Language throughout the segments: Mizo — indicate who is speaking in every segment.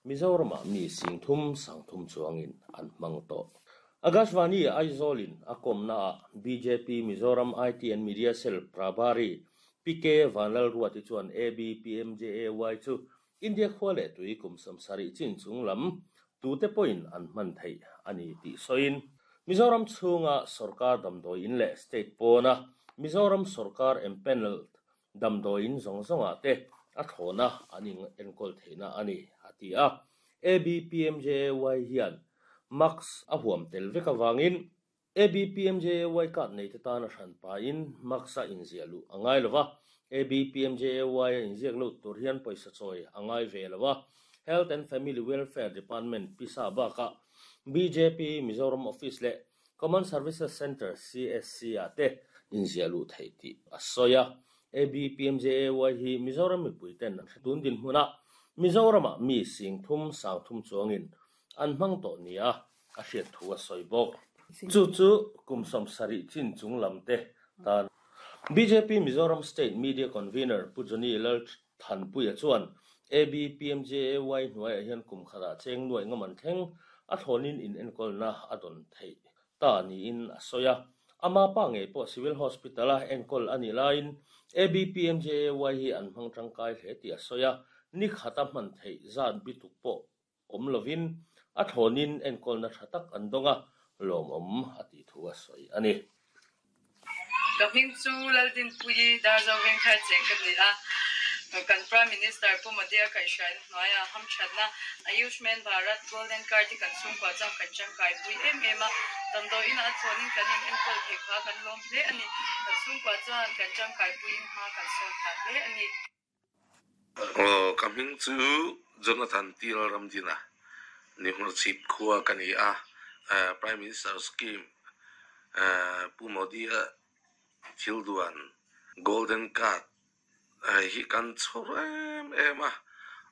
Speaker 1: Mizoramah mi 30 30 chuangin an hmang tawh. Akashvani Aizawlin a kawmnaah bjp Mizoram IT and Media Cell Prabhari PK Vanlalruati chuan ABPMJAY chu India khua leh tui kum 70 chin chung lam tute pawhin an hman theih a ni tih sawiin Mizoram chhunga sorkar damdawiin leh state pawna Mizoram sorkar empanelled damdawiin zawng zawngah te a thlawna an enkawl theihna a ni, a ti a. ABPMJAY hian mask a huam tel vek avangin ABPMJAY card neite tan a hran pahin mask a inziah luh a ngai lo va, ABPMJAY a inziak lut tur hian pawisa chawi a ngai ve lo a. Health and Family Welfare Department pisa bakah bjp Mizoram Office leh Common Services Centre, CSC, ah te inziah luh theih tih a sawi a. ABPMJAY hi Mizoram mipui ten an hre tun dinhmunah Mizoramah mi 30 30 chuangin an hmang tawh nia a hriat thu a sawi bawk. Chu chu kum 70 chin chung lam te tan. Bjp Mizoram State Media Convener Pu Johnny Lalthanpuia chuan ABPMJAY hnuaiah hian kum khatah cheng nuaih ngam an thleng a thlawnin inenkawlna a dawn theih ta niin a sawi a. Ama pa ngei pawh Civil Hospital-a enkawl a nih laiin ABPMJAY hi an hmang tangkai hle tih a sawi a, ni khata hman theih zat bituk pawh awm lovin a thlawnin enkawlna tha tak an dawng a, lawmawm a tih thu a sawi a ni.
Speaker 2: Ka hming chu Laldinpuii Darzo Vengthar cheng ka ni a, kan Prime Minister Pu Modi a kaihhruaina hnuaiah hamthatna Ayushman Bharat Golden Card hi kan chhungkua chuan kan tangkaipui em em a, damdawiin a chhawnin kan in enkawl theih kha kan lawm hle a ni. Kan chhungkua chuan kan tangkaipuiin hma kan sawn phah hle a ni.
Speaker 3: Aw, ka hming chu Jonathan T. Lalramdina, Nihmurchhip khua ka ni a, Prime Minister Scheme Pu Modi-a thil duan Golden Card hi kan chhawr em em a,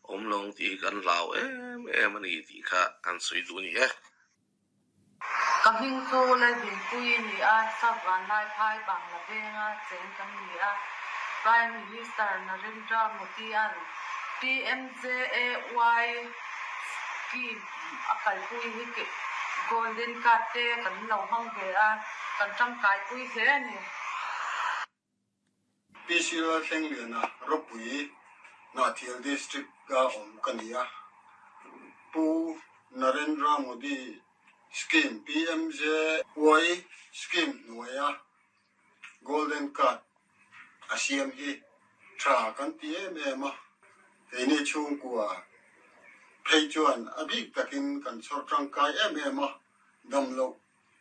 Speaker 3: awm lawng tih hi kan hlau em em a ni tih kha kan sawi duh a ni e.
Speaker 4: Ka hming chu Lalbinpui a ni a, South Vanlaiphai Bangla venga cheng kan ni a. Prime Minister Narendra Modi-a'n PMJAY scheme a kalpui hi Golden Card te kan lo hmang ve a, kan tangkaipui hle a ni.
Speaker 5: PC Lalthlengliana ropui Hnahthial District a awm ka ni a. Pu Narendra Modi Scheme, PMJY Scheme hnuaia Golden Card a siam hi tha kan ti em em a. Keini chhungkua phei chuan a bik takin kan chhawr tangkai em em a, damloh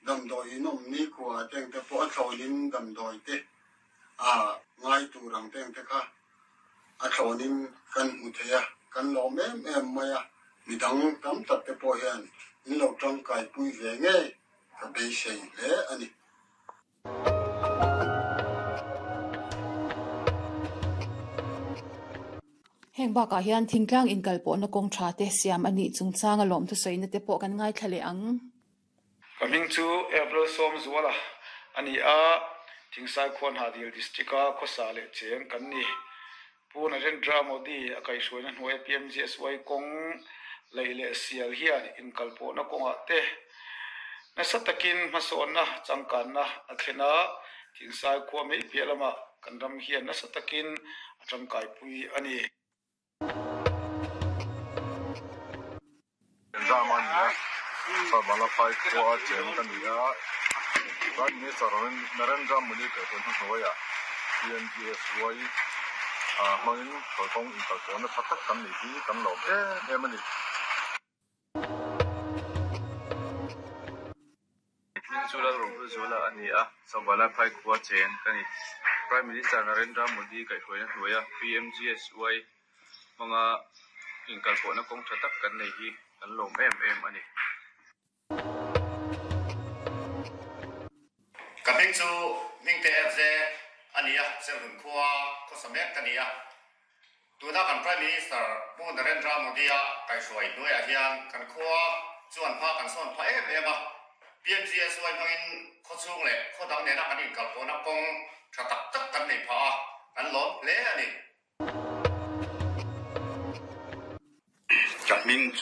Speaker 5: Damdawi in awm nikhua te ang te pawh a thlawnin damdawi te a ngai tur ang te ang te kha a thlawnin kan hmu thei a, kan lawm em em mai a, midang tam tak te pawh hian in lo tangkaipui ve ngei ka beisei hle a ni.
Speaker 6: Heng bakah hian thingtlang inkalpawhna kawng tha te siam a nih chungchang a lawmthu sawina te pawh kan ngaithla leh ang.
Speaker 7: Ka hming chu April Sawmzuala a ni a, Thingsai khua Hnahdil District-a khawsa leh cheng kan ni. Pu Narendra Modi a kaihhruaina hnuaia PMGSY kawng laih leh sial hian inkalpawhna kawngah te nasa takin hmasawnna changkanna a thlen a, Thingsai khua mai piah lamah kan ram hian nasa takin a tangkaipui a ni.
Speaker 8: Zam a ni a, Sabalafai khua a cheng ka ni a, Prime Minister Narendra Modi kaihhruai hnuhnuaiah PMGSY hmangin kalkawng inkalpawhna tha tak kan neih hi kan lawm em em a ni.
Speaker 9: Hming chu Lalrohluzuala a ni a, Sabalafai khua cheng ka ni. Prime Minister Narendra Modi kaihhruaina hnuaia PMGSY hmanga inkalpawhna kawng tha tak kan nei hi kan lawm em em a ni.
Speaker 10: Ka hming chu Hmingte FJ a ni a, Serhmun khua khawsa mek ka ni a. Tuna kan Prime Minister Pu Narendra Modi-a kaihhruai hnuaiah hian kan khua chuan hma kan sawn phah em em a. PMGSY hmangin khawchhung leh khaw dang nena kan inkalpawhna kawng tha tak tak kan nei phah a, kan lawm hle a ni.
Speaker 8: Ka hming chu.